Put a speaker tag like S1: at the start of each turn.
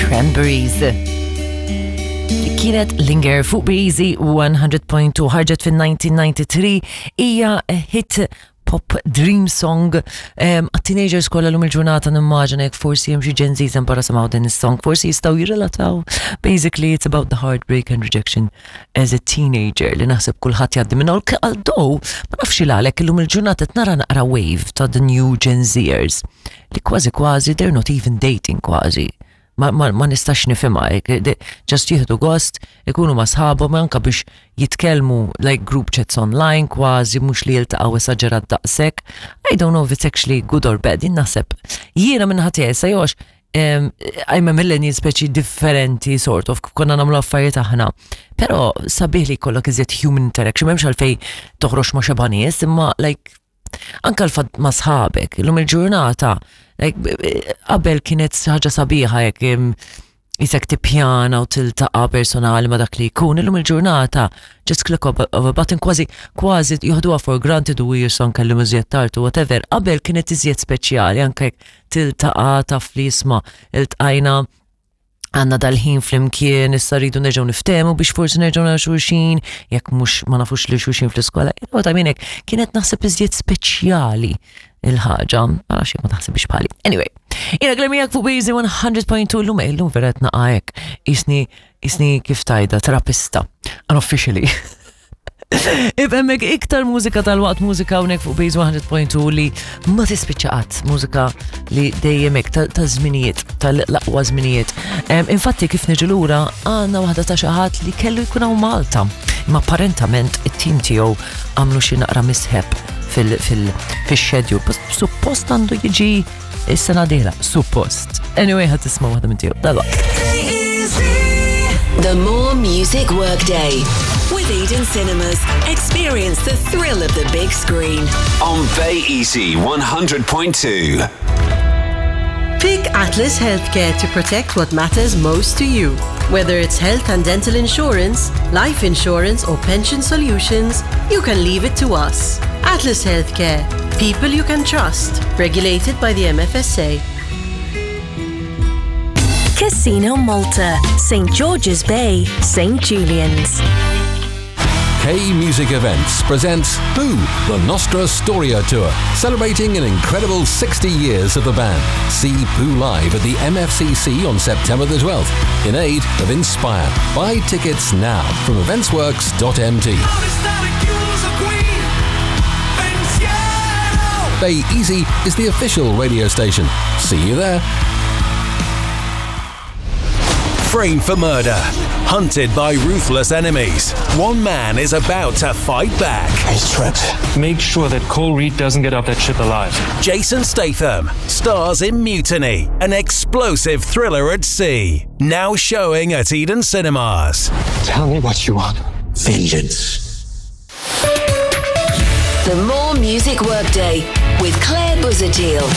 S1: Cranberries. Kienet Linger fuq Breezy 100.2 ħarġet fin-1993 hija hit pop dream song għat-teenagers kollha lum il-ġurnata nimmaġina jekk forsi hemm xi Gen Zs hemm barra semgħu din is-song, forsi jistgħu jirrelataw. Basically it's about the heartbreak and rejection as a teenager li naħseb kulħadd jgħaddi minn although ma nafx il għalhekk illum il-ġurnata qed nara naqra wave ta' the new Gen Zers li kważi kważi they're not even dating kważi. Ma, ma, ma nistax nifhimha, just jieħdu gost, ikunu ma' sħabhom anka biex jitkellmu like group chats online kważi mhux li jiltaqgħu esaġerat daqshekk. I don't know if it's actually good or bad, jien naħseb. Jiena minn ħadd sa jew I'm a millennial speċi differenti sort of, konna nagħmlu affarijiet aħna. Però sabiħ li jkollok iżjed human interaction, m'hemmx għalfej toħroġ ma' xeba nies, imma like anka l-fatt ma' sħabek, illum il-ġurnata, qabel kienet ħaġa sabiħa jekk jisek tippjana u tiltaqa personali ma dak li jkun, illum il-ġurnata, just click of a button, kważi, kważi joħduha for granted u jison kellim iżjed tard u whatever. Qabel kienet iżjed speċjali, anke jekk tiltaqa taf li jisma' iltqajna għanna dal-ħin flimkien, issa rridu nerġgħu niftehmu biex forsi nerġgħu nara xulxin, jekk mhux ma nafux li xulxin fl-iskola. You know what I mean? Kienet naħseb iżjed speċjali il-ħaġa, ma nafx jekk ma taħsibx bħali. Anyway, jiena Glemijak fuq Busy 100.2 l-lum, illum vera qed naqa' hekk. Isni, isni kif tajda, terapista, unofficially. Ibemmek iktar mużika tal-waqt mużika hawnhekk fuq Base 100.2 li ma tispiċċa qatt, mużika li dejjem hekk ta' żminijiet, tal-aqwa żminijiet. Infatti kif niġu lura għandna waħda ta' xi ħadd li kellu jkun hawn Malta. Imma apparentament it-tim tiegħu għamlu xi naqra mishap fil-schedule. Suppost għandu jiġi is-sena dieħla, suppost. Anyway, ħad tisma' waħda minn tiegħu. Dalwaqt.
S2: The More Music Workday with Eden Cinemas. Experience the thrill of the big screen.
S3: On Bay Easy 100.2.
S4: Pick Atlas Healthcare to protect what matters most to you. Whether it's health and dental insurance, life insurance, or pension solutions, you can leave it to us. Atlas Healthcare, people you can trust, regulated by the MFSA.
S2: Casino Malta, St. George's Bay, St. Julian's.
S5: K Music Events presents Boo, the Nostra Storia Tour, celebrating an incredible 60 years of the band. See Pooh live at the MFCC on September the 12th in aid of Inspire. Buy tickets now from eventsworks.mt. Bay Easy is the official radio station. See you there.
S6: Framed for murder, hunted by ruthless enemies, one man is about to fight back.
S7: He's trapped.
S8: Make sure that Cole Reed doesn't get off that ship alive.
S6: Jason Statham stars in Mutiny, an explosive thriller at sea. Now showing at Eden Cinemas.
S7: Tell me what you want.
S3: Vengeance.
S2: The More Music Workday with Claire Buzadil.